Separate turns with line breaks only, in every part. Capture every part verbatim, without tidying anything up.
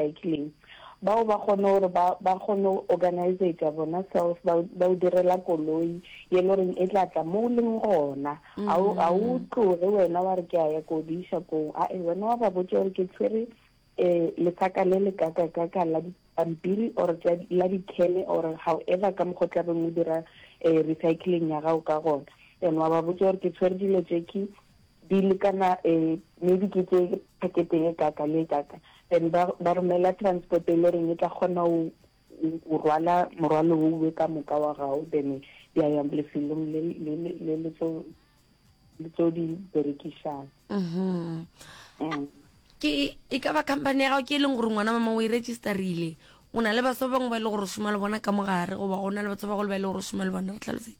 recycling bao ba kgone gore ba ba kgone go organisetša bona self ba ba o direla koloi ye le goreng e tla tla mo o leng gona a o a o tloge wena wa re ke a ya ko di iša koo ae wena wa ba botša gore ke tshwere um lesaka le le kaka-kaka la dipampiri or tša la dikhene or however ka mokgwa o tlabeng o dira um recycling ya gago ka gona then wa ba botša gore ke tshwere dilo tše ke di lekana um maybe ke tše pakete e kaka le e kaka then ba ba romela transport e le goreng e tla kgona go go rwala morwalo owe ka moka wa gago then di a ya lefelong le le le le le tlo le tlo di berekišang
Mhm.
Mm.
ke e ka ba company ya gago ke e leng gore ngwana mama o e registerile o na le batho ba bangwe ba e le gore o šoma le bona ka mogare goba go na le batho ba bagolo ba e le gore o šoma le bona re tlhalosetse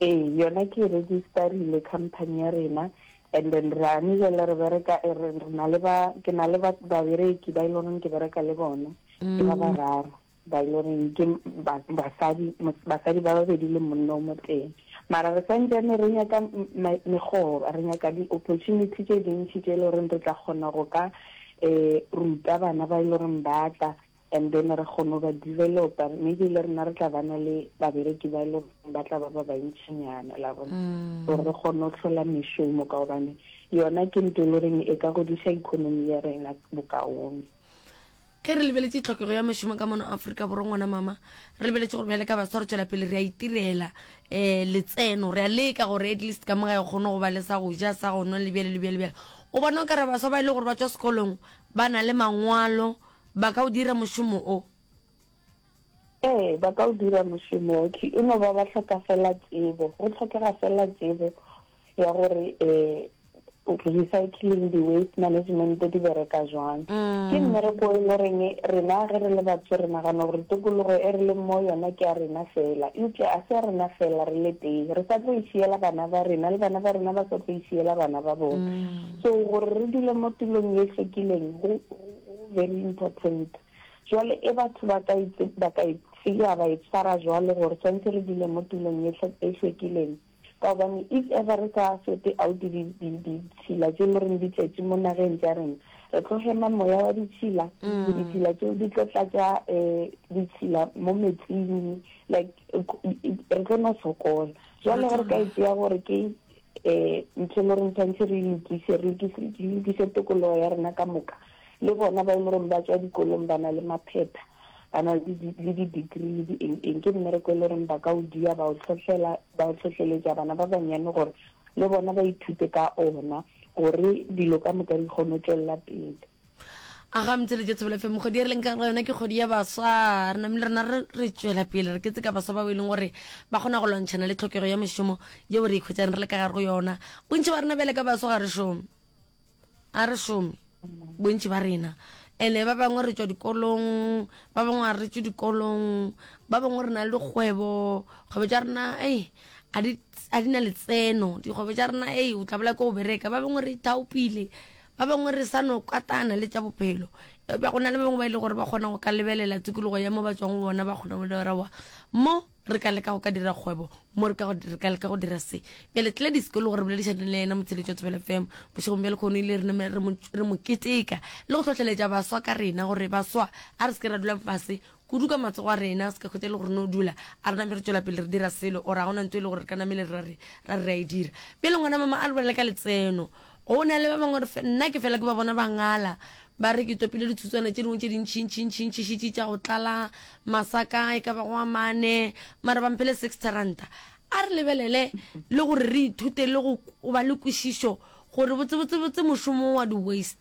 ee yona ke registerile company ya rena and then re ane jale re bereka eh, re re na le ba ke na le ba babereki ba e le goreng ke bereka le bona ke ba bararo ba e le goreng ke ba- basadi mos- basadi ba babedi le monna o moteng mara re santsane re nyaka m- me- megoro re nyaka di-opportunity tše dintši tše e le goreng re tla kgona go ka um ruta bana ba e le goreng ba tla and then re kgone go ba developa maybe le rena re tla bana le babereki ba e le goreng ba tla ba ba bantšinyana la bona gore re kgone go hlola mešomo ka gobane yona ke ntho e le goreng e ka godiša economy ya rena bokaone
ge re lebeletše tlhokego ya mešomo ka mono aforika borwa ngwana mama re lebeletše gore bjale ka baswa re tšwela pele re a itirela um letseno re a leka gore at least ka moga e kgone go ba le sa go ja sa go nwa le bjale le bjale bjale o bona o kare baswa ba e le gore ba tswa sekolong ba na le mangwalo ba ka o dira mošomo o
ee ba ka o dira mošomo ke e no ba ba hloka fela tsebo go tlhokega fela tsebo ya gore um recycling di-waste management di bereka jwang ke mmereko e le goreng rena ge re le batho re nagana gore tikologo e re leng mo yona ke ya rena fela eupša a se ya rena fela re le tee re sa tlo e šiela bana ba rena le bana ba rena ba sa tlo e šiela bana ba bona so gore re dule mo tulong ye hlwekileng go go very important jwale e batho ba ka itse ba ka e tsea ba e tshwara jwalo gore tshwanetse re dule mo tulong ye hlwe- e hlwekileng ka gobane if ever re sa sorte out ditšhila tše le goreng di tletše mo nageng tša rena re tlo hema moya wa ditšhila ditšhila tšeo di tlo tlatša um ditšhila mo metsing like re tlo no sokola jwale ge re ka e tšea gore ke um ntho e le goreng tshwanetse re e lokise re lokise re lokise tokologo ya rena ka moka le bona ba e le goreng ba tswa dikolong ba na le maphepha ba na le di- le di-degree le di eng eng ke mmereko e le goreng ba ka o dia ba o tlhohlela ba o tlhohleletša bana ba banyane gore le bona ba ithute ka ona gore dilo ka moka di kgone go tswelela pele
a ga motšheletše thobela fm kgwedi e re leng ka go yona ke kgwedi ya baswa re namile rena re re tšwela pele re ketse ka baswa bao e leng gore ba kgona go lwantšhana le tlhokego ya mešomo yeo re ikhwetšang re le ka gare go yona bontši ba rena bjale ka baswa ga re šome a re šome bontši ba rena ene ba bangwe re tswa dikolong ba bangwe ga re tswe dikolong ba bangwe re na le dikgwebo kgwebo tša rena ei a di a di na letseno dikgwebo tša rena ei o tla bola ke go bereka ba bangwe re ithaopile ba bangwe re sa no katana le tša bophelo eupša go na le ba bangwe ba e le gore ba kgona go ka lebelela tikologo ya mo ba tswang go bona ba kgona go dira wa mo re ka leka go ka dira kgwebo mo re ka go- re ka leka go dira se bjale tlele disekolo gore boledišane le yena motsheletso wa thobela fm bošegong bja lekgono ile re name- re mo re mo keteka le go hlohleletša baswa ka rena gore baswa a re se ke ra dula fase kudu ka matsogo a rena se ka kgwetsa e le gore no dula a re name re tswela pele re dira selo or a gona ntho e le gore re ka namele ra re ra re a e dira pele ngwana mama a re bolele ka letseno go na le ba bangwe re fe- nna ke fela ke ba bona ba ngala ba re ke topile dithutswana tše dingwe tše dintšhintšhintšhintšhitše tša go tlala masaka e ka ba go a mane mara ba mphele sixty ranta a re lebelele le gore re ithute le go go ba le kwešišo gore botsebotsebotse mošomo wa di-waste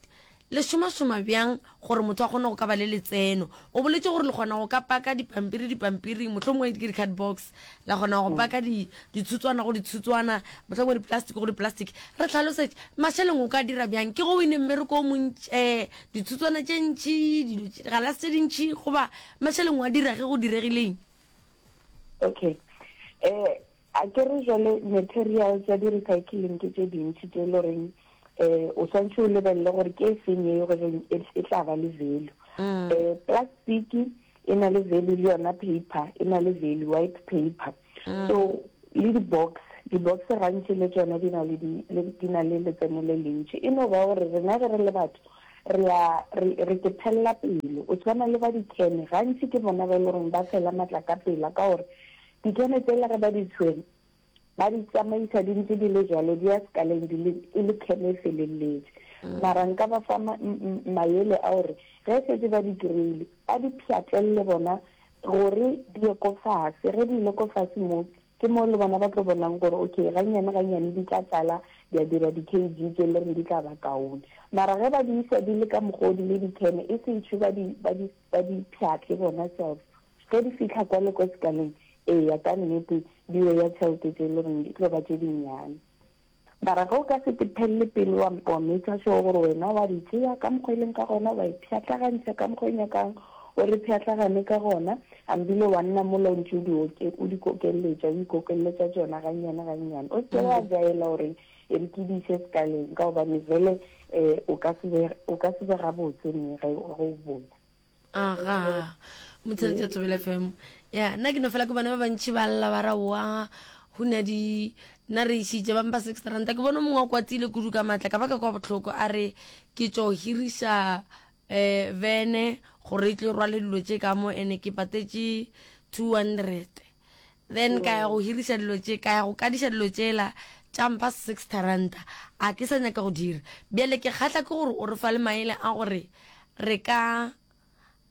le šomašoma bjang gore motho a kgone go ka ba le letseno o boletse gore le kgona go ka paka dipampiri dipampiring mohlomongwe ke di-card box la kgona go paka di- dithutswana go dithutswana mohlomongwe di-plastic go di-plastic re tlhalosetse mašeleng o ka dira bjang ke go wine mmereko o montši um dithutswana tše ntši dilo tše- galase tše dintši goba mašeleng wa dira ge go diregileng
okay eh a ke re jwale material tša di-recycling ke tše dintši tše e le goreng um o swantse o lebelele gore ke e feng ye goreng e e tla ba le value um plastic e na le value le yona paper e na le value white paper so le di-box di-box gantši le tsona di na le di le- di na le letseno le lentši e no ba gore rena ge re le batho Re a re re ke phella pelo. O tshwana le ba dikhene, gantši ke bona ba e le goreng ba fela matla ka pela, ka gore dikhene tsela ge ba di tshwere, ba di tsamaisa di ntse di le jalo, di ya sekaleng di le e le khene e feleletše. Mara nka ba fa maele a gore ge setse ba di kry-ile, ba di pšhatlelele bona gore di ye ko fase. Ge di ile ko fase moo, ke mo le bona ba tlo bonang gore okay, gannyane gannyane di tla tlala, di a dira di-K G tše le reng di tla ba kaone. Mara ge ba di isa di le ka mokgwa o di le dikhene, e sentšhe ba di ba di ba di pšhatle bona self, ge di fitlha kwa le ko sekaleng, eya ka nnete di ya tšhelete tše le reng di tlo ba tše dinnyane. Mara ge o ka se tephelele pele, wa wa make sure gore wena wa di tšea ka mokgwa e leng ka gona, wa e pšhatlagantšha ka mokgwa e nyakang o re pšhatlagane ka gona, ambile wa nna mola o ntse o di oke o di kokeletša, o ikokeletša tšona gannyane gannyane, o seke wa jaela gore e re ke di ise sekaleng, ka gobane vele um o ka se be o ka se be gabotse ne ge o boya.
Aga, motsheletša Thobela F M. Ya nna ke no fela ke bone ba bantšhi ba lla, ba ra wa go na di nna re išitše ba mpa six ranta. Ke bone mongwe wa kwatile kudu ka maatla, ka ba ka kwa bohloko, a re ke tšo hiriša um vene gore e tlo rwale dilo tše ka mo, ene ke patetše two hundred, then ka ya go hiriša dilo tše, ka ya go kadiša dilo tšela tša mpha six ranta, a ke sa nyaka go dira bjale. Ke kgahla ke gore o re fa le maele a gore re ka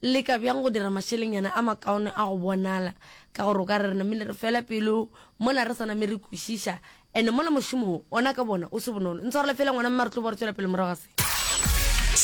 leka bjang go dira mašelengnyana a makaone a go bonala, ka gore o ka re re namile re fela pelo mola re sa name re kwešiša, and mola mošomo ona ka bona o se bonolo. Ntshwarele fela ngwana mme, re tlo bo re tswela pele morago ga se.